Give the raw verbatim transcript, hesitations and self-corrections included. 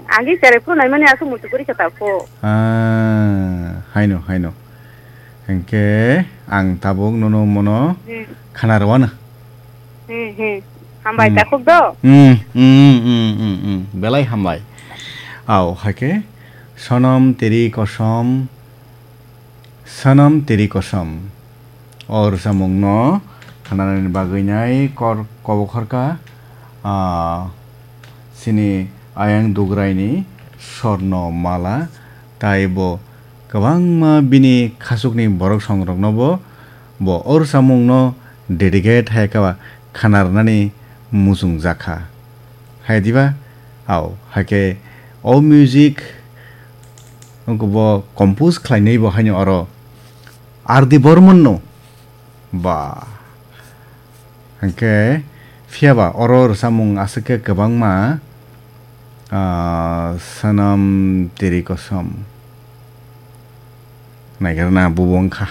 Agi cherai phuru naimani aswk muchuk kwrwi khe ta pho. Ah, haino, haino. Hwnkhe ang tabuk nono mono Hmm. khana rwano. Hmm, hmm. Hambai Hmm. takhuk do. Hmm, hmm, hmm, hmm, hmm, hmm. Belai hambai. Au, hakhe Sonam Teri Kosam, Sonam Teri Kosam. O rwchapmungno khnanani bagwi nai kor-, kobokhorka, ah, chini ayang Dugraini Sorno Mala, tai bo kwbangma bini khachukni borok songrokno bo, bo o rwchapmungno dedicate hai khe ba khna rwnani muchungjak kha. Hai diba? Au, hai khe o music wngkhe bo compose khlainai bo haino oro R D Burman no. Ba. Hwnkhe phiya ba oro rwchapmung aswk khe kwbangma, ah, Sonam Teri Kosam. Naikarna bubo wngkha.